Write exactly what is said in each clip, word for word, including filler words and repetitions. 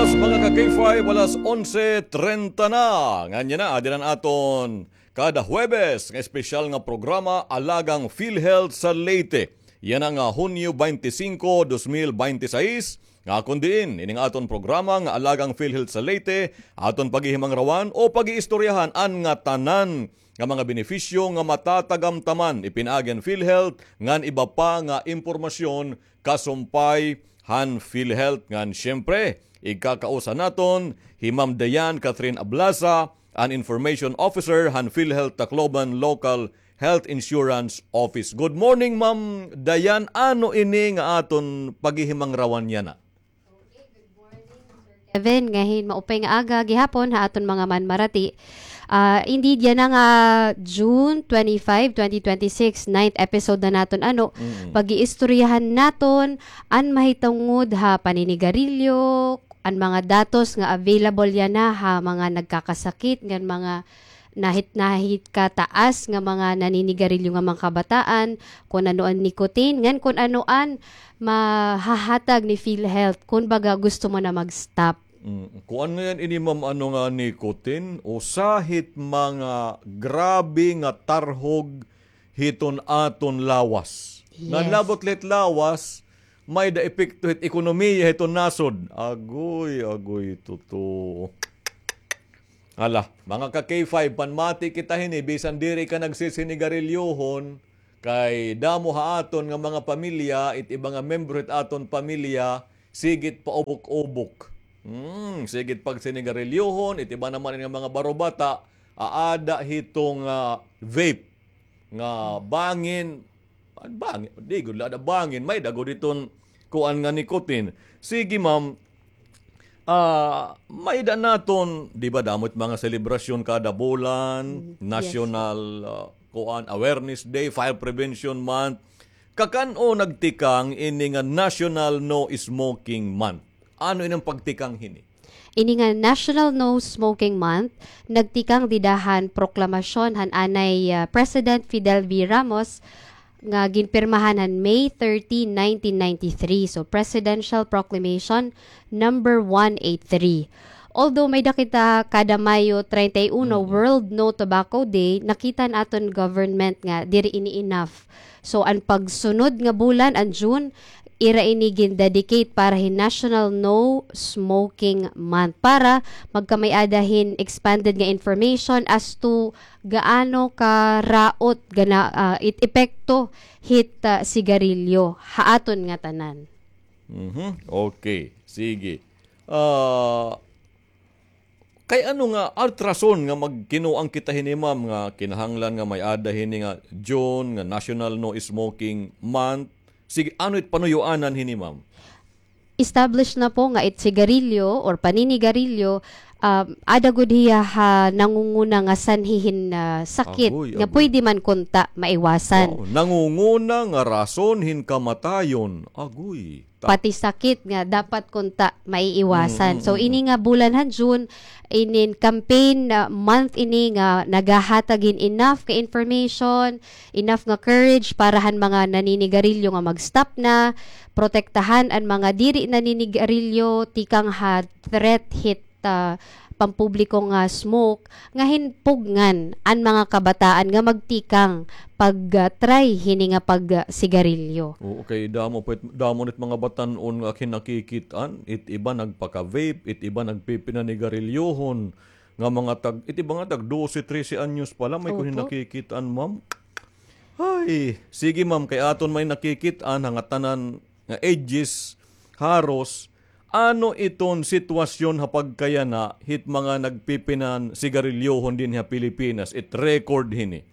Mga ka-K five, alas onse treinta na. Ngan yana, adi na an aton kada Huwebes nga espesyal nga programa, Alagang PhilHealth sa Leyte. Yana nga Hunyo baynte singko, dos mil baynte sais, nga kon diin, ining aton programa nga Alagang PhilHealth sa Leyte, aton paghihimangrawan o pag-iistoryahan an ngatanan nga mga benepisyo nga matatagamtaman ipinaagi han PhilHealth ngan iba pa nga impormasyon kasumpay han PhilHealth. Ngan siyempre, igkakausa naton hi Ma'am Diane Catherine Ablasa, an Information Officer han PhilHealth Tacloban Local Health Insurance Office. Good morning, Ma'am Diane. Ano ini nga aton paghihimangrawan yana? Kevin, nga hin maupay nga aga gihapon ha aton mga manmarati. Ah, indeed, yana nga June twenty-five, twenty twenty-six, ninth episode na naton, ano, Mm. pag-iistoryahan naton an mahitungod ha paninigarilyo, an mga datos nga available yana ha mga nagkakasakit ngan mga nahit-nahit kataas nga mga naninigarilyo nga mga kabataan, kon ano an nicotine, ngan kon ano an mahahatag ni PhilHealth, kon baga gusto mo na mag-stop. Mm, kuan nga yan ini, ma'am, ano nga nicotine, usa hit mga grabe nga tarhog hiton aton lawas. Ngan Yes. labot la hit lawas, may-ada epekto hit ekonomiya hiton nasod. Agoy, agoy, totoo. Hala, mga ka-K five, panmati kita hini, bisan diri ka nagsisinigarilyohon, kay damo ha aton nga mga pamilya, it iba nga membro hit aton pamilya, sigit paubok-ubok. Hmm, sigit pagsinigarilyohon, it iba naman nga mga barobata, aada hiton, ah, vape. Nga bangin, an bangin, di gud la ada bangin, may-ada gud hiton kuan nga nicotine. Sige, ma'am, ah, may-ada naton, di ba, damo it mga selebrasyon kada bulan, Mm, yes. National, ah, kuan, Awareness Day, Fire Prevention Month. Kakan-o nagtikang ini nga National No Smoking Month? Ano ini an pagtikang hini? Ini nga National No Smoking Month, nagtikang dida han proklamasyon han anay, ah, President Fidel V. Ramos nga ginpirmahan han May thirteen, nineteen ninety-three. So, Presidential Proclamation number one eight three. Although may-ada kita kada Mayo treinta y uno Mm. World No Tobacco Day, nakita han aton government nga diri ini enough. So, an pagsunod nga bulan, an June, ira ini gin-dedicate para hin National No Smoking Month, para magkamay-ada hin expanded nga information as to gaano karaot gana, ah, it epekto hit, ah, sigarilyo ha aton ngatanan. Mhm. Okay. Sige. Ah, Kay ano nga ultrason nga magkinuan kita hini, ma'am, nga kinahanglan nga may-ada hini nga June nga National No Smoking Month? Sige, ano it panuyuanan hini, ma'am? Established na po nga it sigarilyo or paninigarilyo, um, ada gud hiya ha nangunguna nga sanhi hin, ah, sakit Agoy, nga agoy. pwede man kunta maiwasan. Wow, nangunguna nga rason hin kamatayon. Agoy. Ta- Pati sakit nga dapat kunta maiiwasan. Mm, So, mm, ini mm. nga bulan han June, inin campaign, ah, month ini nga nagahatag hin enough ka information, enough nga courage para han mga naninigarilyo nga mag-stop na, protektahan an mga diri naninigarilyo tikang ha threat hit, ah, pampubliko nga smoke, nga hin pugngan an mga kabataan nga magtikang pag, ah, try hini nga pag, ah, sigarilyo. Oo, kay damo pa it, damo na it mga batan-on nga akon nakikit-an, it iba nagpaka-vape, it iba nagpipinanigarilyohon, nga mga tag, it iba nga tag dose, trese anyos pa la, may akon Opo. nakikit-an, ma'am. Ay, sige, ma'am, kay aton may nakikit-an, ha ngatanan nga ages, haros, ano iton sitwasyon ha pagkayana hit mga nagpipinansigarilyohon dinhi ha Pilipinas, it record hini?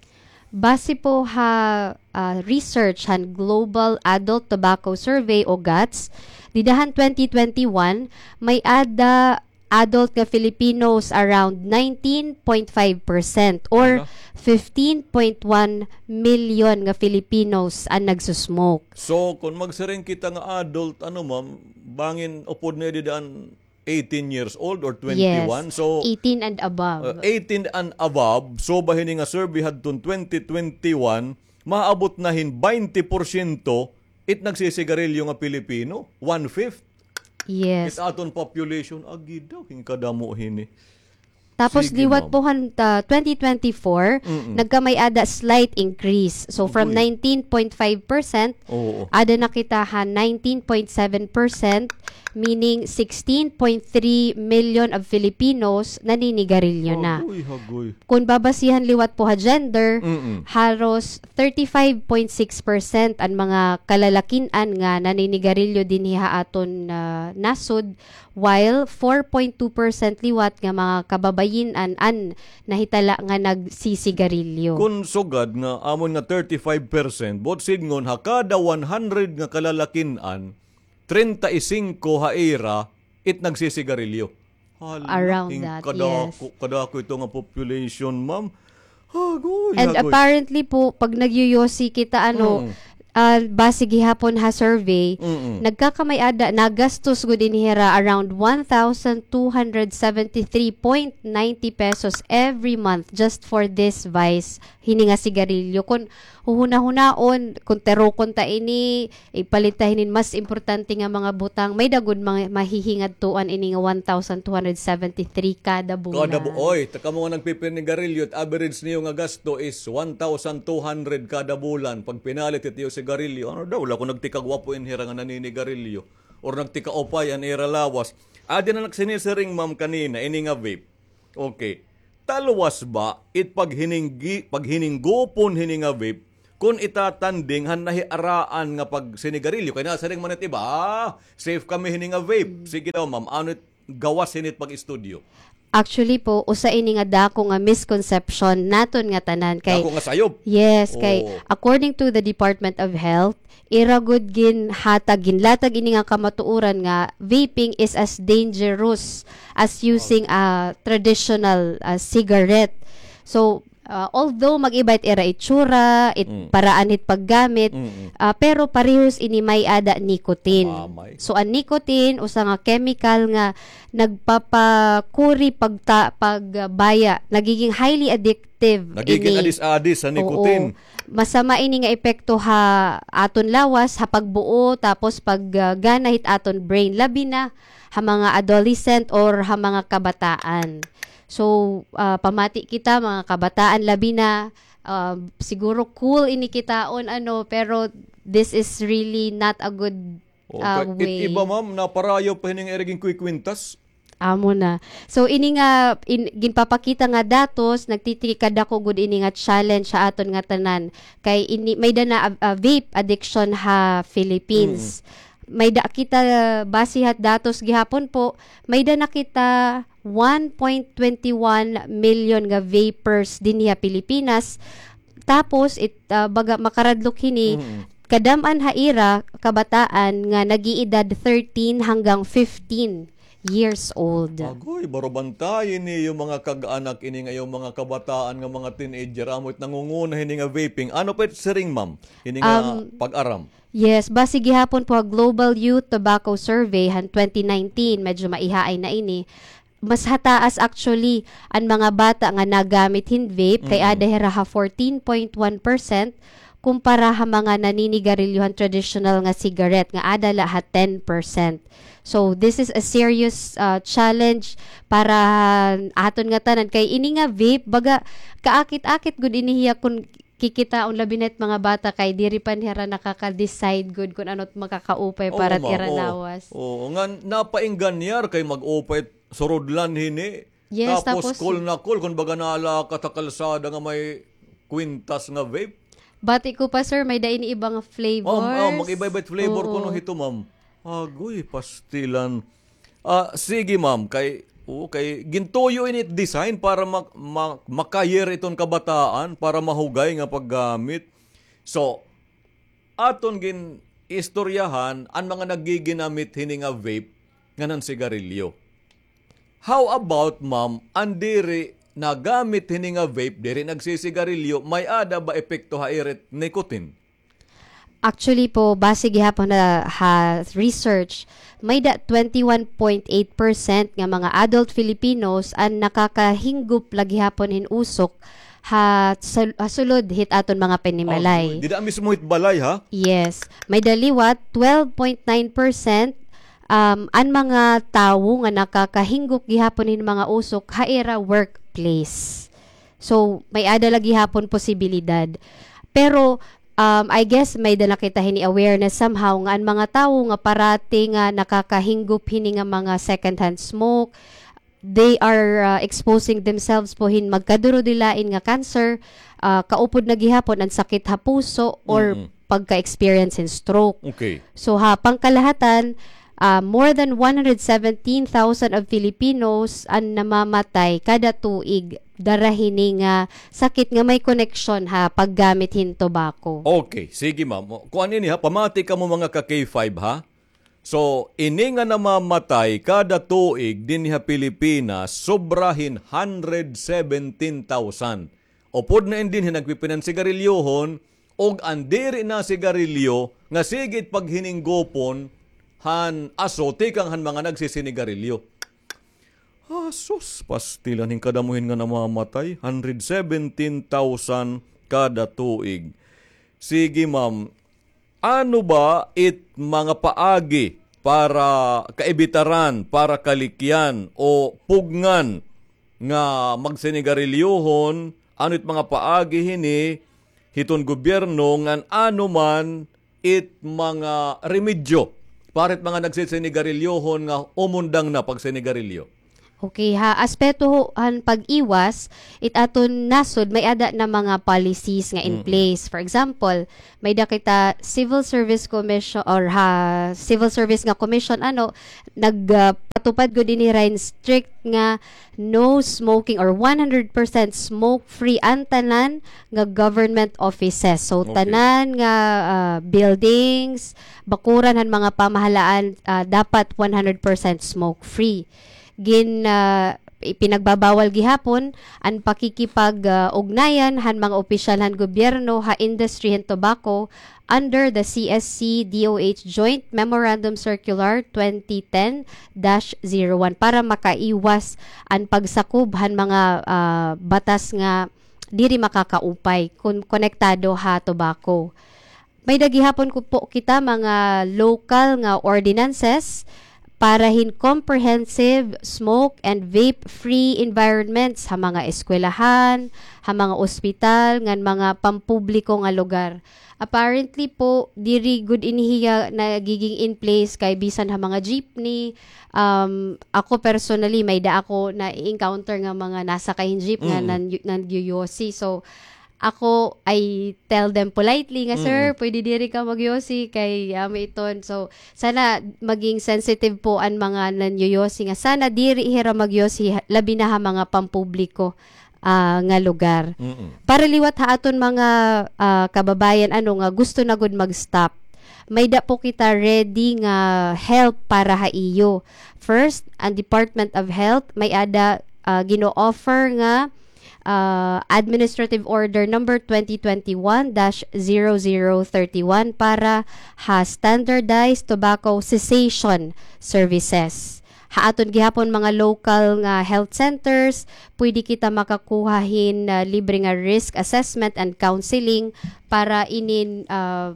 Base po ha, ah, research han Global Adult Tobacco Survey o GATS, dida han twenty twenty-one, may-ada adult nga Filipinos around nineteen point five percent or Hala. fifteen point one million nga Filipinos an nagsusmoke. So, kung magsiring kita nga adult, ano, ma'am, bangin upod na dida an eighteen years old or twenty-one. Yes. So, eighteen and above. Uh, eighteen and above. So, bahini nga survey hadton twenty twenty-one, maabot na hin baynte porsyento it nagsisigarilyo nga Pilipino. One-fifth. Yes. It aton population, agi daw, hin kadamo hini. Tapos liwat po han, ah, twenty twenty-four, nagkamay-ada slight increase. So, from nineteen point five percent, ada na kita ha nineteen point seven percent, meaning sixteen point three million of Filipinos naninigarilyo na. Hagoy, hagoy. Kon babasihan liwat po ha gender, haros thirty-five point six percent an mga kalalakin-an nga naninigarilyo dinhi ha aton, ah, nasod, while four point two percent liwat nga mga kababayin-an an nahitala nga nagsisigarilyo. Kon sugad nga amon nga thirty-five percent, buot sidngon ha kada one hundred nga kalalakin-an, treinta y cinco ha ira it nagsisigarilyo. Hala, around that, yes. Kadako, kadako ito nga population, ma'am. Hagoy, hagoy. And apparently po, pag nagyoyosi kita, ano, ah, base gihapon ha survey, nagkakamay-ada, nagastos gud ini hira around one thousand two hundred seventy-three point ninety pesos every month just for this vice, hini nga sigarilyo. Kon huhunahunaon, kon tirokon ta ini, ipalit ta hinin mas importante nga mga butang, may-ada gud mga mahihingadtuan ini nga one thousand two hundred seventy-three kada bulan. Kada bu-, oy, ta kamo nga nagpipinigarilyo, it average niyo nga gasto is one thousand two hundred kada bulan. Pag pinalit it iyo sigarilyo, ano daw, wala ko nagtikagwapo in hira nga naninigarilyo. Or nagtikaupay an ira lawas. Adi na nagsinisiring, ma'am, kanina, ini nga vape. Okay. Talwas ba it paghininggi-, paghininggupon hini nga vape kon itatanding han nahiaraan nga pagsinigarilyo? Kay nasiring man it iba, "Ah, safe kami hini nga vape." Sige daw, ma'am, ano it gawas hini it pag-estudyo? Actually po, usa ini nga dako nga misconception naton nga tanan kay dako nga sayop. Yes, kay according to the Department of Health, ira gud ginhatag, ginlatag ini nga kamatuoran nga vaping is as dangerous as using a traditional, ah, cigarette. So, ah, although mag-iba it ira itsura, it paraan hit paggamit, ah, pero parehos ini may-ada nicotine. So, an nicotine, usa nga chemical nga nagpapakuri pagta-, pagbaya, nagiging highly addictive. Nagiging ini. Adis-adis sa nicotine. Oo. Masama ini nga epekto ha aton lawas, ha pagbuo, tapos pag, ah, gana hit aton brain, labi na ha mga adolescent or ha mga kabataan. So, ah, pamati kita, mga kabataan, labi na, ah, siguro cool ini kitaon, ano, pero this is really not a good, ah, way. It iba, ma'am, naparayaw pa hini nga ira ginkukwintas. Amo na. So, ini nga in-, ginpapakita nga datos, nagtitikadako gud ini nga challenge ha aton nga tanan. Kay ini, may-ada na, ah, ah, vape addiction ha Philippines. May-ada kita, base ha datos gihapon po, may-ada na kita one point twenty one million nga vapers dinhi ha Pilipinas. Tapos, it, ah, baga makaradlok hini, kadam-an ha ira, kabataan nga nag-iedad thirteen hanggang fifteen years old. Agoy, baro bantayi niyo mga kag-anak ini nga iyo mga kabataan nga mga teenager, amo it nangunguna hini nga vaping. Ano pa it siring, ma'am? Hini nga pag-aram. Yes, base gihapon po ha Global Youth Tobacco Survey han twenty nineteen, medyo maihaay na ini. Mas hataas actually an mga bata nga nagamit hin vape, kay ada hira ha fourteen point one percent kumpara ha mga naninigarilyo han traditional nga cigarette nga ada la ha ten percent. So, this is a serious, ah, challenge para aton nga tanan. Kay ini nga vape, baga, kaakit-akit gud ini hiya kun kikitaon, labi na it mga bata kay diri pa hira nakaka-decide gud kun ano it makakaupay para it ira lawas. Oo, nga napaingganyar kay mag-upay surudlan hini. Yes, tapos cool na cool kun baga nalakat ha kalsada nga may kwintas nga vape. Bati ko pa, sir, may-ada ini iba nga flavors. Oh, mag-iba-iba it flavor kuno hito, ma'am. Agoy, pastilan. Ah, sige, ma'am, kay, oo, kay gintuyo ini design para mak-, ma-, makayer iton kabataan para mahugay nga paggamit. So, aton gin-istoryahan an mga naggiginamit hini nga vape ngan sigarilyo. How about, ma'am, an diri nagamit hini nga vape, diri nagsisigarilyo, may-ada ba epekto ha ira it nicotine? Actually po, base gihapon ha, ha research, may-ada twenty-one point eight percent nga mga adult Filipinos an nakakahinggop la gihapon hin usok ha sul-, ha sulod hit aton mga panimalay. Agoy, dida mismo hit balay, ha? Yes. May-ada liwat, twelve point nine percent um, an mga tawo nga nakakahinggop gihapon hin mga usok ha ira workplace. So, may-ada la gihapon posibilidad. Pero, um, I guess, may-ada na kita hini awareness somehow nga an mga tawo nga parati nga nakakahinggop hini nga mga secondhand smoke, they are, uh, exposing themselves po hin magkaduro-dilain nga cancer, ah, kaupod na gihapon an sakit ha puso or Mm-mm. pagka-experience hin stroke. Okay. So, ha pangkalahatan, ah, more than one hundred seventeen thousand of Filipinos an namamatay kada tuig dara hini nga sakit nga may koneksyon ha paggamit hin tobacco. Okay, sige, ma'am. Kuan ini, ha, pamati kamo mga ka K five, ha? So, ini nga namamatay kada tuig dinhi ha Pilipinas, sobra hin hundred seventeen thousand. Upod na in dinhi nagpipinan sigarilyohon, ug an diri na sigarilyo nga sige it paghininggupon han aso tikang han mga nagsisinigarilyo. Ah, sus, pastilan hin kadamo hin nga namamatay, hundred seventeen thousand kada tuig. Sige, ma'am, ano ba it mga paagi para kaibitaran, para kalikyan o pugngan nga magsinigarilyohon? Ano it mga paagi hini hiton gobyerno ngan ano man it mga remedyo para it mga nagsisinigarilyohon nga umundang na pagsinigarilyo? Okay, ha aspeto ho han pag-iwas, it aton nasod may-ada na mga policies nga in Mm-mm. place. For example, may-ada kita Civil Service Commission or ha Civil Service nga Commission, ano, nag, ah, patupad gud ini hira hin strict nga no smoking or one hundred percent smoke-free an tanan nga government offices. So, Okay. tanan nga, ah, buildings, bakuran han mga pamahalaan, ah, dapat one hundred percent smoke-free. Gin, ah, ipinagbabawal gihapon an pakikipag, ah, ugnayan han mga opisyal han gobyerno ha industry han tobacco under the C S C D O H Joint Memorandum Circular twenty ten dash zero one para makaiwas an pagsakob han mga, ah, batas nga diri makakaupay kon konektado ha tobacco. May-ada gihapon ko po kita mga local nga ordinances para hin comprehensive smoke and vape-free environments ha mga eskwelahan, ha mga ospital, ngan mga pampubliko nga lugar. Apparently po, diri gud ini hiya nagiging in place kay bisan ha mga jeepney, um, ako personally, may-ada ako na-encounter nga mga nasakay hin jeep nga Mm. nan-, nagyoyosi. So, ako, I tell them politely nga, "Sir, Mm. pwede diri ka magyosi kay amo iton." So, sana maging sensitive po an mga nanyoyosi nga sana diri hira magyosi, ha-, labi na ha mga pampubliko, ah, nga lugar. Mm. Para liwat ha aton mga, ah, kababayan, ano, nga gusto na gud mag-stop, may-ada po kita ready nga help para ha iyo. First, an Department of Health, may-ada, ah, gino-offer nga ah, Administrative Order Number twenty twenty-one dash zero zero thirty-one para ha standardized tobacco cessation services. Ha aton gihapon mga local nga health centers, pwede kita makakuha hin, ah, libre nga risk assessment and counseling para inin, ah,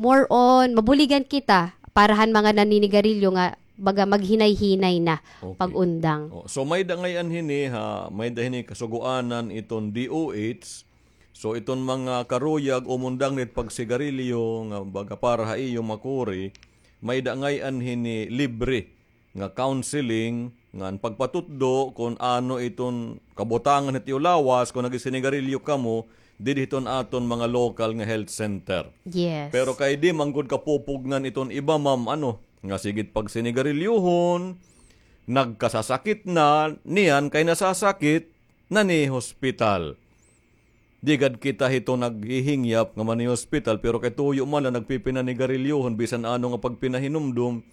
more on, mabuligan kita para han mga naninigarilyo nga baga maghinay-hinay na Okay. pag-undang. Oh, so, may-ada ngay-an hini, ha, may-ada hini kasugoanan iton D O H. So, iton mga karuyag umundang nit pagsigarilyo nga baga para ha iyo makuri, may-ada ngay-an hini libre nga counseling, ngan pagpatutdo kon ano iton kabutangan hit iyo lawas kon nagsisinigarilyo kamo didi hiton aton mga local nga health center. Yes. Pero kay di man gud kapupugngan iton iba, ma'am, ano, nga sige it pagsinigarilyohon, nagkasasakit na, niyan kay nasasakit, nanihospital. Di gad kita hito naghihingyap nga manihospital, pero kay tuyo man la nagpipinanigarilyohon bisan ano nga pagpinahinumdom.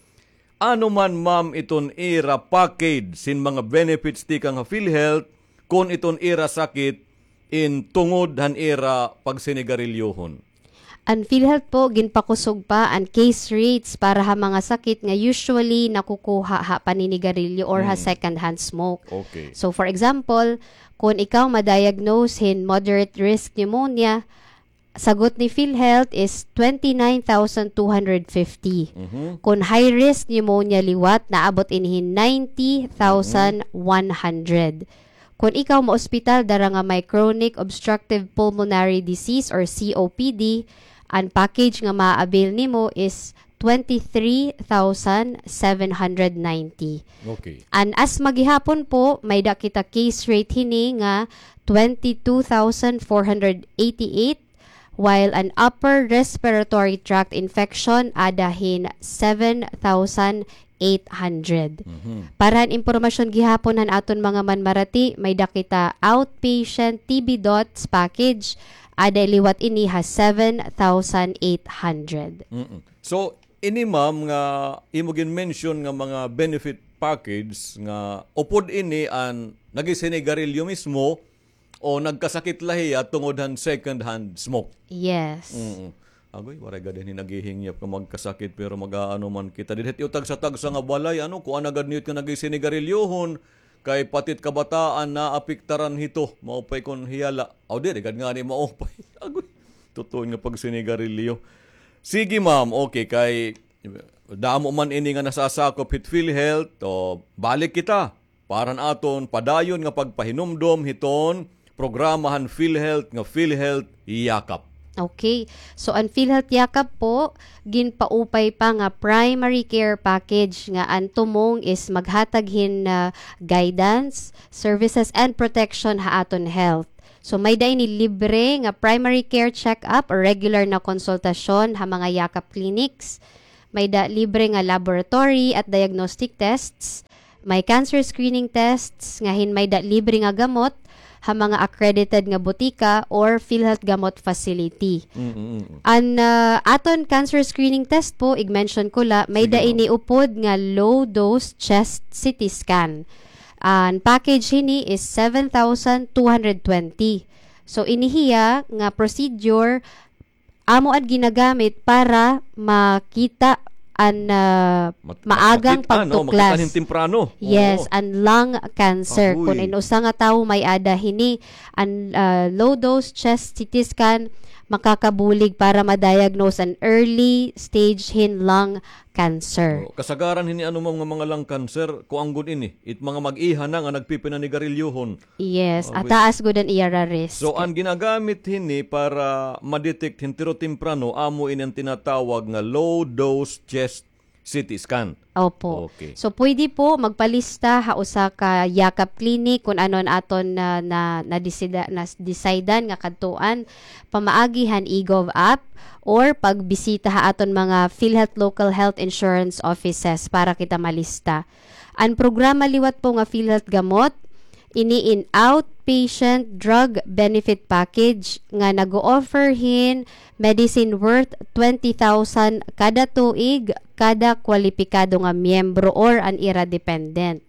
Ano man, ma'am, iton ira package sin mga benefits tikang ha PhilHealth kon iton ira sakit in tungod han ira pagsinigarilyohon? An PhilHealth po, ginpakusog pa an case rates para ha mga sakit nga usually nakukuha ha paninigarilyo or ha Mm. secondhand smoke. Okay. So, for example, kon ikaw ma-diagnose hin moderate risk pneumonia, sagot ni PhilHealth is twenty-nine thousand two hundred fifty. Mhm. Kon high risk pneumonia liwat, naabot ini hin ninety thousand one hundred. Kon ikaw maospital dara nga may chronic obstructive pulmonary disease or C O P D, an package nga ma-avail nimo is twenty-three thousand seven hundred ninety. Okay. An asthma gihapon po, may-ada kita case rate hini nga twenty-two thousand four hundred eighty-eight, while an upper respiratory tract infection ada hin seven thousand eight hundred. Mhm. Para han impormasyon gihapon han aton mga manmarati, may-ada kita outpatient T B dots package, ada liwat ini ha seven thousand eight hundred. Mm-mm. So, ini, ma'am, nga imo gin-mention nga mga benefit package nga upod ini an nagsisinigarilyo mismo o nagkasakit la hiya tungod han second hand smoke. Yes. Mm-mm. Agoy, waray gad ini naghihingyap nga magkasakit, pero mag-aano man kita. Didto it iyo tagsa-tagsa nga balay, ano, kuan na gad niyo it nga nagsisinigarilyohon, kay pati it kabataan naapektaran hito. Maupay kon hiya la. Aw, diri gad ngani maupay. Agoy, tutuon nga pagsinigarilyo. Sige, ma'am. Okay, kay damo man ini nga nasasakop hit PhilHealth. O, balik kita para han aton padayon nga pagpahinumdom hiton programa han PhilHealth nga PhilHealth Yakap. Okay. So, an PhilHealth Yakap po, ginpaupay pa nga primary care package nga an tumong is maghatag hin, ah, guidance, services, and protection ha aton health. So, may-ada ini libre nga primary care check-up or regular na konsultasyon ha mga Yakap clinics. May-ada libre nga laboratory at diagnostic tests. May cancer screening tests nga hin may-ada libre nga gamot ha mga accredited nga botika or PhilHealth Gamot Facility. Mm, mm, mm. An, ah, aton cancer screening test po, ig-mention ko la, may-ada ini upod nga low-dose chest C T scan. An package hini is seven thousand two hundred twenty. So, ini hiya nga procedure amo an ginagamit para makita an, ah, maagang pagtuklas. Makita hin temprano. Yes, an lung cancer. Agoy. Kon in usa nga tawo may-ada hini, an, ah, low dose chest C T scan, makakabulig para ma-diagnose an early stage hin lung cancer. O, kasagaran hini, ano, ma'am, nga mga lung cancer, kuan gud ini, it mga mag-iha na nga nagpipinanigarilyohon. Yes, taas gud an ira risk. So, an ginagamit hini para ma-detect hin tiro temprano, amo ini an tinatawag nga low dose chest C T scan. Opo. Okay. So, pwede po magpalista ha usa ka Yakap Clinic kon ano an aton na, na, na-decide-an nga kadtuan pamaagi han eGov app or pagbisita ha aton mga PhilHealth local health insurance offices para kita malista. An programa liwat po nga PhilHealth Gamot, ini in outpatient drug benefit package nga nag-o-offer hin medicine worth twenty thousand kada tuig kada kwalipikado nga miyembro or an ira dependent.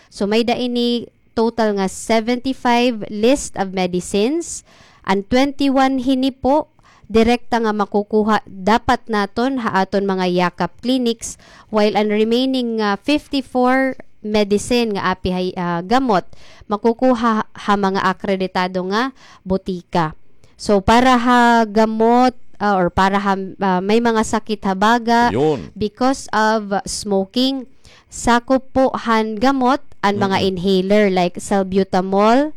So, may-ada ini total nga seventy-five list of medicines. An twenty-one hini po, direkta nga makukuha dapat naton ha aton mga Yakap clinics, while an remaining nga fifty-four medicine nga api ha, ah, gamot, makukuha ha mga akreditado nga botika. So, para ha gamot, ah, or para ha, ah, may mga sakit ha baga, because of smoking, sakop po han gamot an mga inhaler like salbutamol,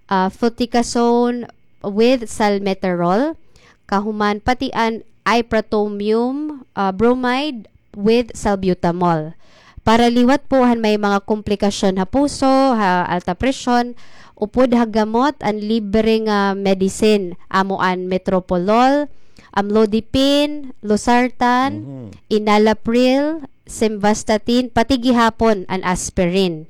ah, fluticasone with salmeterol, kahuman pati an ipratropium, ah, bromide with salbutamol. Para liwat po han may mga komplikasyon ha puso, ha alta presyon, upod ha gamot an libre nga medicine, amo an metoprolol, amlodipine, losartan, enalapril, simvastatin, pati gihapon an aspirin.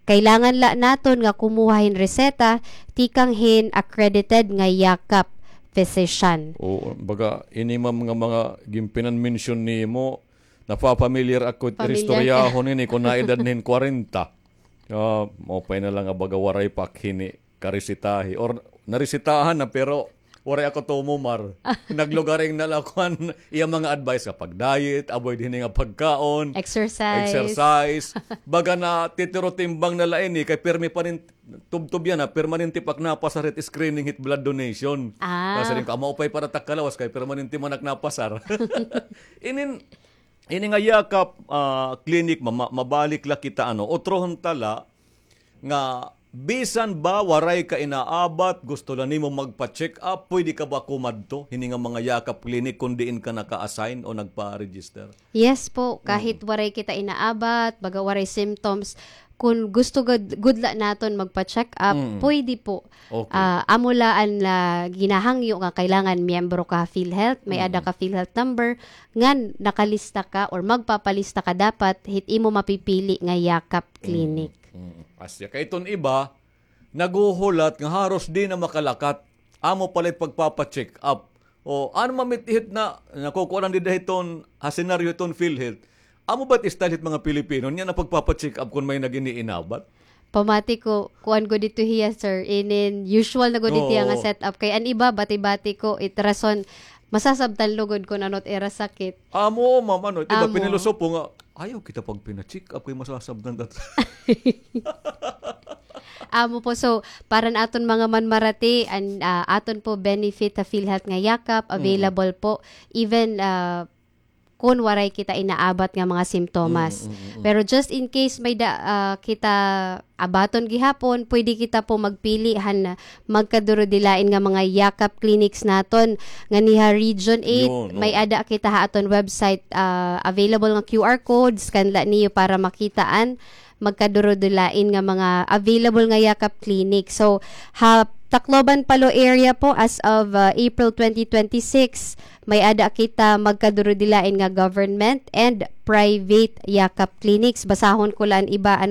Kailangan la naton nga kumuha hin reseta tikang hin accredited nga Yakap physician. Oo, baga, ini, ma'am, nga mga ginpinan-mention nimo, napapamilyar ako it iristoryahon ini kon naedad na hin kwarenta. Ah, maupay na la nga baga waray pa ak hini karesetahi. Or naresetahan na, pero Waray ako tumumar. Naglugaring na la kuan iya mga advice nga pag-diet, avoid hini nga pagkaon, Exercise. exercise. Baga na titirotimbang na la ini kay pirmi pa rin tubtob yana, permanente pa ak napasar hit screening hit blood donation. Ah. Kasi rin ka, maupay para tak kalawas kay permanente man ak napasar. Inin, ini nga Yakap, ah, clinic, ma-, ma-, mabalik la kita, ano, utrohon ta la, nga bisan ba waray ka inaabat, gusto la nimo magpa-check up, pwede ka ba kumadto hini nga mga Yakap clinic kun diin ka naka-assign o nagpa-register? Yes po, kahit waray kita inaabat, baga waray symptoms, kun gusto gud, gud la naton magpa-check up, Mm. pwede po. Okay. Ah, amo la an, ah, ginahangyo nga kailangan miyembro ka PhilHealth, may ada Mm. ka PhilHealth number, ngan nakalista ka or magpapalista ka dapat hit imo mapipili nga Yakap Clinic. Mm, mm. Asya. Kay iton iba, naghuhulat nga haros di na makalakat. Amo pala it pagpapa-check up. O, ano mamit-ihit na, nakukuha lang dida hiton, ha senaryo hiton PhilHealth. Amo ba it style hit mga Pilipino? Niya na pagpapa-check up kun may nag-iniinabat? Pamati ko, kuan gud ito hiya, sir. Inin, usual na gud ito hiya nga Oo. setup. Kay an iba, bati-bati ko, it rason, masasabtan lugod kun ano it ira sakit. Amo, ma'am, ano, it iba Amo. pinilosopo nga, ayaw kita pagpina-check up kay masasabtan ta. Amo po, so, para na aton mga manmarati, an, ah, aton po benefit ha PhilHealth nga Yakap, Mm. available po. Even, ah, kun waray kita inaabat nga mga simptomas. Mm, mm, mm, mm. Pero just in case may da, ah, kita abaton gihapon, pwede kita po magpili han magkadurudilain nga mga Yakap clinics naton. Nganhi ha Region eight, Yun, may oo. ada kita ha aton website, ah, available nga Q R code, scan la niyo para makitaan magkadurudilain nga mga available nga Yakap clinic. So, ha Tacloban, Palo area po, as of, ah, April twenty twenty-six, may ada kita magkadurudilain nga government and private Yakap clinics. Basahon ko la an iba, ano,